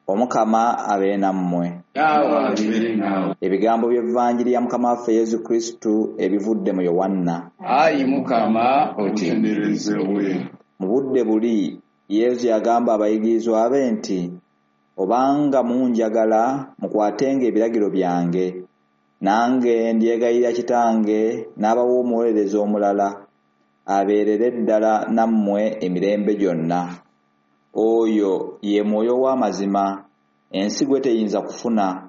Omukama abeere nammwe. Naawe abeere naawe. Ebigambo by'Evanjiri ya Mukama waffe Yesu Kristu ebivudde mu Yowanna. Ayi Mukama, otenderezebwe. Mu budde buli Yesu yagamba abayigirizwa be nti, obanga munjagala mukwatenga ebiragiro byange, nange ndyegayirira Kitange n'abawa omuwolereza omulala abeerere ddala nammwe emirembe gyonna. Oyo ye Mwoyo w'amazima, ensi gwe teyinza kufuna,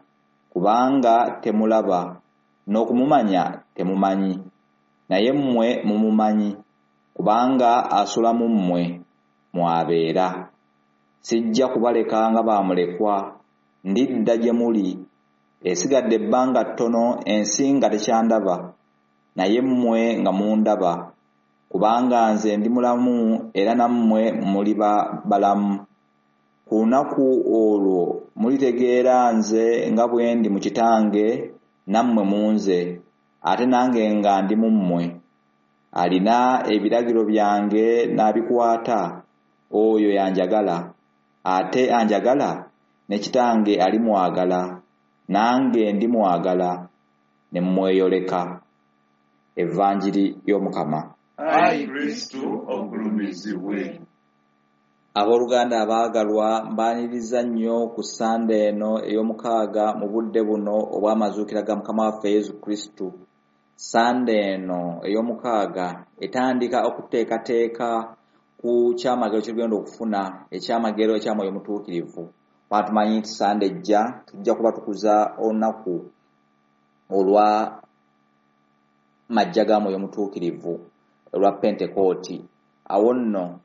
kubanga temulaba, n'okumumanya temumanyi. Naye mmwe mumumanyi, kubanga asula mu mmwe, mwabeera. Sijja kubaleka nga baamulekwa, ndidda gye muli. Esigadde ebbanga ttono ensi nga tekyandaba, naye mmwe nga mundaba, kubanga nze ndi mulamu era nammwe muliba balamu. Ku lunaku olwo mulitegeera nze nga bwe ndi mu Kitange, nammwe mu nze, ate nange nga ndi mu mmwe. Alina ebiragiro byange n'abikwata, oyo y'anjagala, ate anjagala ne Kitange alimwagala, nange ndimwagala ne mmweyoleka. Evanjiri y'Omukama. Ayi Kristu ogulumizibwe. Abooluganda abaagalwa, mbaaniriza nnyo ku Ssande eno ey'omukaaga mu budde buno obw'amazuukira ga Mukama waffe Yesu Kristu. Ssande eno ey'omukaaga etandika okuteekateeka ku kyamagero kye tugenda okufuna, ekyamagero ekya Mwoyo Mutuukirivu. Kuba tumanyi nti Ssande ejja tujja kuba tukuza olunaku olwa majja ga Mwoyo Mutuukirivu olwa Pentekooti. Awo nno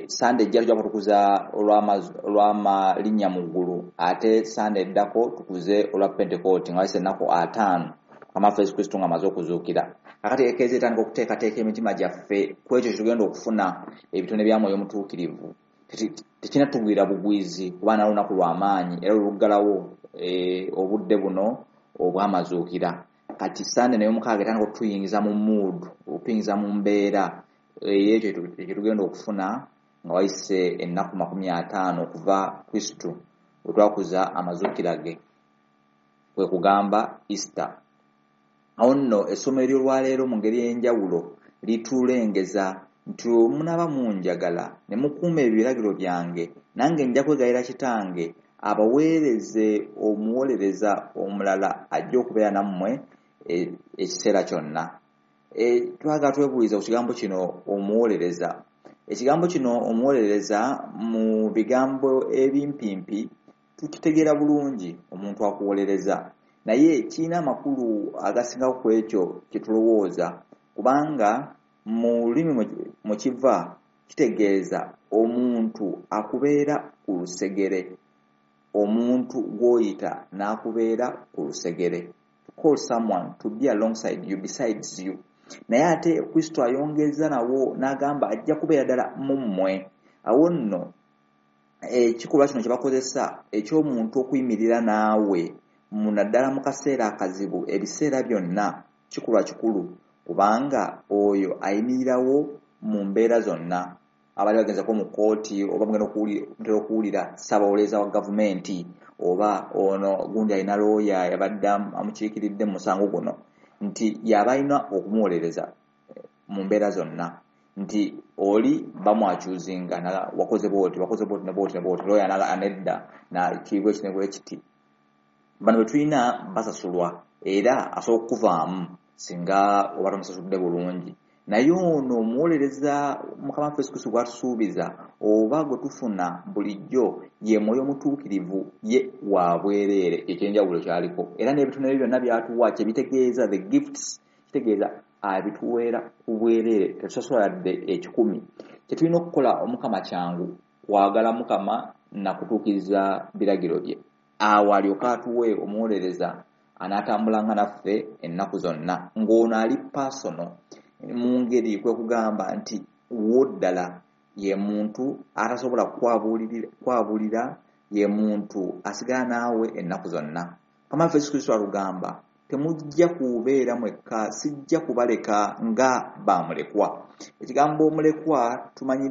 Ssande ejja tujja kuba tukuza olw'amalinnya mu ggulu, ate Ssande eddako tukuze olwa Pentekooti nga wayise ennaku 5 Mukama waffe Yesu Kristu ng'amaze okuzuukira. Kakati Ekereziya etandika okuteekateeka emitima gyaffe ku ekyo kye tugenda okufuna, ebitone bya Mwoyo Mutuukirivu. Tekinnatugwira bugwizi kuba nalwo lunaku lwa maanyi era luluggalawo obudde buno obw'amazuukira. Kati Ssande nayo mukaaga etandika okutuyingiza mu mood, okutuyingiza mu mbeera ey'ekyo kye tugenda okufuna nga wayise ennaku 50 okuva Kristu bwe twakuza amazuukira ge, kwe kugamba Easter. Awo nno essomo ery'olwaleero mu ngeri ey'enjawulo litulengeza nti munaaba munjagala ne mukuuma ebiragiro byange, nange nja kwegayirira Kitange abaweereze omuwolereza omulala ajja okubeera nammwe ekiseera kyonna. Twagala twebuulize ku kigambo kino omuwolereza. Ekigambo kino omuwolereza mu bigambo ebimpimpi tukitegeera bulungi, omuntu akuwolereza, naye kirina amakulu agasingako ku ekyo kye tulowooza, kubanga mu lulimi mwe kiva kitegeeza omuntu akubeera ku lusegere, omuntu gw'oyita n'akubeera ku lusegere. To call someone to be alongside you, besides you. Naye ate Kristo ayongeza nawo n'agamba ajja kubeera ddala mu mmwe. Awo nno ekikolwa kino kye bakozesa eky'omuntu okuyimirira naawe naddala mu kaseera akazibu, ebiseera byonna, kikolwa kikulu, kubanga oyo ayimirirawo mu mbeera zonna. Abali bagenzako mu kkooti oba mugenda mutera okuwulira ssaabawolereza wa gavumenti oba ono gundi alina looya yabadde amukiikiridde mu musango guno, nti yaba alina okumuwolereza mu mbeera zonna, nti oli bamwakyuzinga wakoze bw'oti, wakoze bw'oti ne bw'oti ne bw'oti, looya anedda na kiri bwe kiti ne bwe kiti. Bano bwe tulina basasulwa era asobola okukuvaamu singa oba tomusasudde bulungi. Naye ono omuwolereza Mukama waffe Yesu Kristo gw'atusuubiza oba gwe tufuna bulijjo ye Mwoyo Mutuukirivu, ye wa bwereere, ekyenjawulo kyaliko. Era n'ebitone bye byonna by'atuwa kye bitegeeza, the gifts, kitegeeza abituweera ku bwereere, tetusasula yadde 10. Kye tulina okukola Omukama kyangu, kwagala Mukama na kutuukiriza biragiro bye. Awo alyoke atuwe omuwolereza anaatambulanga naffe ennaku zonna, ng'ono ali personal mu ngeri kwe kugamba nti wo ddala ye muntu atasobola kwabulira, ye muntu asigala naawe ennaku zonna. Mukama waffe Yesu Kristo alugamba, temujja kubeera mwekka, sijja kubaleka nga baamulekwa. Ekigambo omulekwa tumanyi